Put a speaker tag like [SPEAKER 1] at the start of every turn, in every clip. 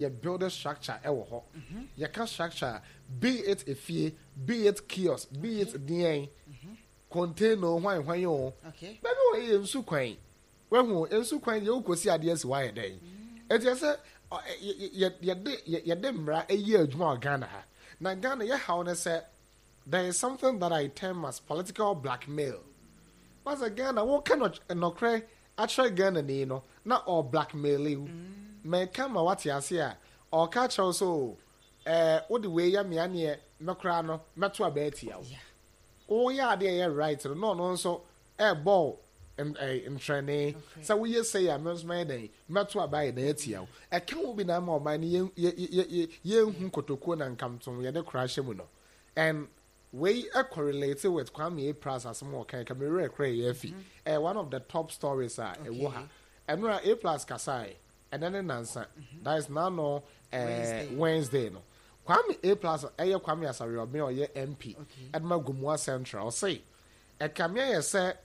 [SPEAKER 1] Yɛ build structure ɛwɔ hɔ. Yɛka structure a, be it efie, be it kiosk, be it deɛn, container o, hwan hwan o. Baabi wɔ yɛ nsu kwan. Wahu nsu kwan deɛ wokɔsi adeɛ asi hɔ ayɛ dɛn? Ɛti ɛsɛ yɛde yɛde mmara ɛyɛ adwuma wɔ Ghana ha. Na Ghana yɛ haw ne sɛ there is something that I term as political blackmail. Wasɛ Ghana woka nɔkorɛ akyerɛ Ghanani no na ɔɔ blackmaili wo. Meka ma wate ase a, ɔɔka akyerɛ wo sɛ oo ɛɛ wode wei yɛ me a neɛ me koraa no mɛto aba atia wo. Woyɛ adeɛ a ɛyɛ right no na ɔno nso ɛɛbɔ wo ntrɛnee sɛ woyɛ sei a me nso mɛyɛ dɛn mɛto aba ayɛ dɛn atia wo. Ɛka ho bi na ama ɔman no yɛnhu kotokuo na nkamtom yɛde kora hyɛ mu no. And wei correlate with Kwame A. Plus asɛm a ɔkae, ka me werɛ koraa ɛyɛ afi. Ɛyɛ one of the top stories a ɛwɔ ha. Ɛno a A Plus kasae, ɛnɛ ne nansa, that is n'ano eh, Wednesday no. Kwame A Plus ɛyɛ Kwame Asare-Obeng a ɔyɛ MP ɛde ma Gomoa Central. Ɔse, ɛkame ayɛ sɛ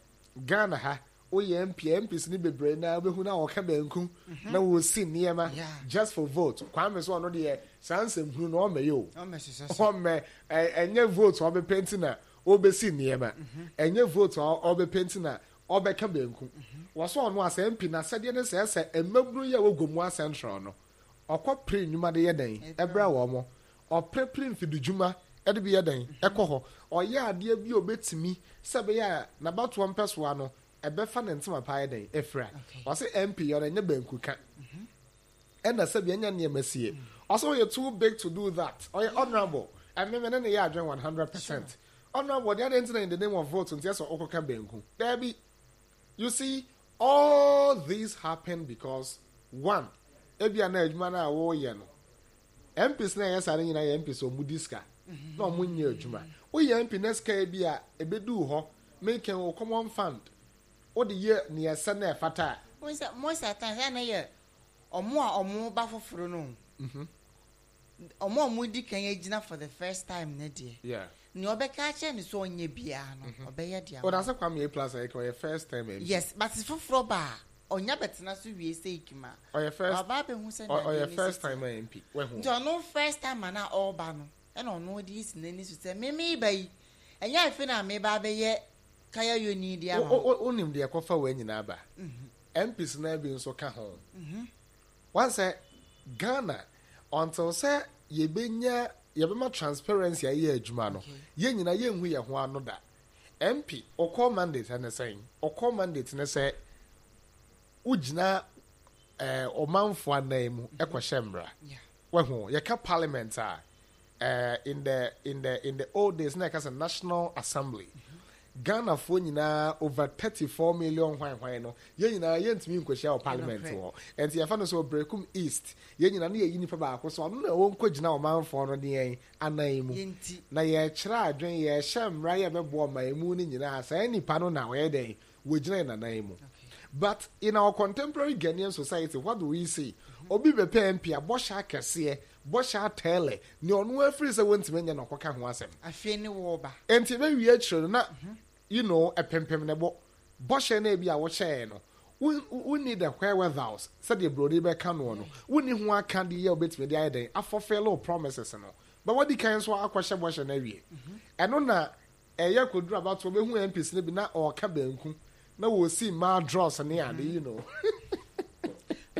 [SPEAKER 1] Ghana ha woyɛ MP a, MPs no bebree naa wobɛhu na wɔka banku na wɔsi nneɛma just for vote. Kwame so ɔno deɛ saa nsɛmhunu no ɔmmɛyɛ o. Ɔmmɛ ɛnyɛ vote a ɔbɛpɛ nti na ɔbɛsi nneɛma. Ɛnyɛ vote a ɔbɛpɛ nti na ɔbɛka banku. Wɔsɛ ɔno asɛ MP n'asɛdeɛ ne sɛ sɛ mmabunu yi a ɛwɔ Gomoa Central no ɔkɔ pere nnwuma de yɛ dɛn ɛbrɛ wɔn. Ɔpere pere mfididwuma de bi yɛ dɛn ɛkɔ hɔ. Ɔyɛ adeɛ bi a ɔbɛtumi sɛ ɛbɛyɛ a n'abatoɔ mpɛsoa no ɛbɛfa ne ntoma pa ayɛ dɛn afira. Ɔse MP yɛ ɔno ɛnyɛ banku ka. Ɛna sɛbi ɛnyɛ nneɛma sie. Ɔse ɔyɛ too big to do that. Ɔyɛ honourable. Ɛme me ne no yɛ adwene 100%. Honourable deɛ adɛn nti na in the name of vote nti ɛsɛ ɔkɔka banku. Daabi. You see, all these happen because one, ebia na adwuma no a wɔreyɛ no, MPs na ɛyɛ saa no nyinaa yɛ MPs a wɔn di sika na wɔn nyɛ adwuma. Woyɛ MP na sika bi a ebeduu hɔ, meka o common fund, wode yɛ nea ɛsɛ na ɛfata a.
[SPEAKER 2] Wohu sɛ most of the times ɛyɛ na yɛ wɔn a wɔn ba foforo no o. Wɔn a wɔdi kan agyina for the first time no deɛ, nea ɔbɛka akyerɛ no sɛ ɔnyɛ biara no, ɔbɛyɛ de ama
[SPEAKER 1] no. Ɔda sɛ Kwame A plus a yɛka ɔyɛ first term MP.
[SPEAKER 2] Yes, but foforɔ ba a, ɔnya bɛtena so wie sɛ Ikima a,
[SPEAKER 1] Ɔyɛ first
[SPEAKER 2] waba abɛhu sɛ nea
[SPEAKER 1] ɔyɛ
[SPEAKER 2] adeɛ no si
[SPEAKER 1] first
[SPEAKER 2] teɛ.
[SPEAKER 1] timer MP. Wahu.
[SPEAKER 2] Nti ɔno first timer no a ɔreba no, ɛna ɔno de asi n'ani so sɛ me meba yi, ɛnyɛ afe na meba abɛyɛ kaya yoni de ama mo.
[SPEAKER 1] Wonim deɛ ɛkɔfa wei nyinaa ba? MPs no ara bi nso ka ho. Wahu sɛ Ghana until sɛ yɛbɛnya yɛbɛma transparency ayɛ adwuma no, yɛn nyinaa yɛnhu yɛn ho ano da. MP, wo core mandate ne sɛn? Wo core mandate ne sɛ wogyina eh, ɔmanfoɔ anan mu kɔhyɛ mmara. Wahu, yɛka parliament a, eh, in the old days na yɛka sɛ National Assembly. Ghanafoɔ nyinaa over 34 million hwan hwan no, yɛn nyinaa yɛntumi nkɔhyia wɔ parliament hɔ. Nti yɛfa no sɛ Oberekum East, yɛn nyinaa ne yɛyi nipa baako so ɔno na ɛwɔ nkɔgyina ɔmanfoɔ no deɛn anan mu. Na yɛkyerɛ adwen, yɛhyɛ mmara yɛ bɛboa ɔman mu no nyinaa, saa nipa no na ɔyɛ dɛn, wɔgyina yɛn anan mu. But in our contemporary Ghanaian society, what do we see? Obi bɛpɛ MP a bɔhyɛ akɛseɛ, bɔhyɛ atɛɛlɛ, nea ɔno afiri sɛ wɔntumi nyɛ na ɔkɔka ho asɛm.
[SPEAKER 2] Afei ne wɔɔba.
[SPEAKER 1] Nti ɛbɛwie akyire no na you know ɛpempem ne bo. Bɔhyɛ no ebi a wɔhyɛɛ no, wonni the wherewithals sɛdeɛ buroni bɛka noɔ no, wonni ho aka de yɛ wobɛtumi de ayɛ dɛn afulfill wo promises no. But wadi kan nso akɔhyɛ bɔhyɛ no awie. Ɛno na ɛyɛ kɔduru abatoɔ bɛhu MPs no bi na ɔɔka banku na wɔsi madros ne ade.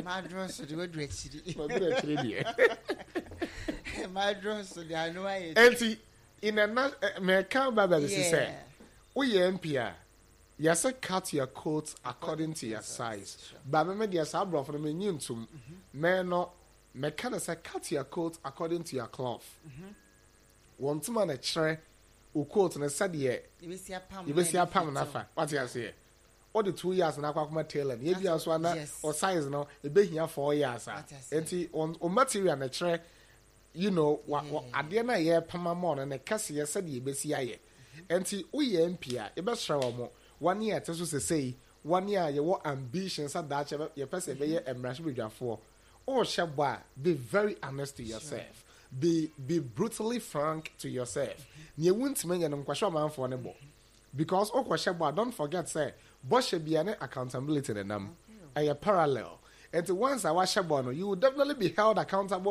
[SPEAKER 2] Madros de waduru akyiri.
[SPEAKER 1] Waduru akyiri deɛ.
[SPEAKER 2] Madros de ano ayɛ.
[SPEAKER 1] Enti in a na mɛka ba baabi si sɛ woyɛ MP a, yɛsɛ cut your coat according to your size. Ba me deɛ saa aborɔfo no menyi ntom. Mɛ no mɛka no sɛ cut your coat according to your cloth. Wɔn ntoma na kyerɛ wo coat no sɛdeɛ yɛbɛsi apam n'afa. Wate aseɛ? Wode 2 yards na akɔ akɔma tailor no, yɛbia nso ana o size no ɛbɛhia 4 yards a, nti o material na kyerɛ you know wa wa adeɛ no a yɛrepam ama ɔno ne kɛseɛ sɛdeɛ yɛbɛsi ayɛ. Nti woyɛ MP a, yɛbɛsrɛ wɔn, wɔne a ɛte so sesei, wɔne a yɛwɔ ambition sɛ daakye yɛpɛ sɛ yɛbɛyɛ mmarahyɛbadwafoɔ, wohyɛ bɔ a, be very honest to yourself, be brutally frank to yourself. Nea wontumi nyɛ no, nkɔhyɛ ɔmanfoɔ no bɔ, because wokɔhyɛ bɔ a, don't forget sɛ bɔhyɛ bia ne accountability ne nam ɛyɛ parallel. Nti once a wahyɛ bɔ no, you will definitely be held accountable.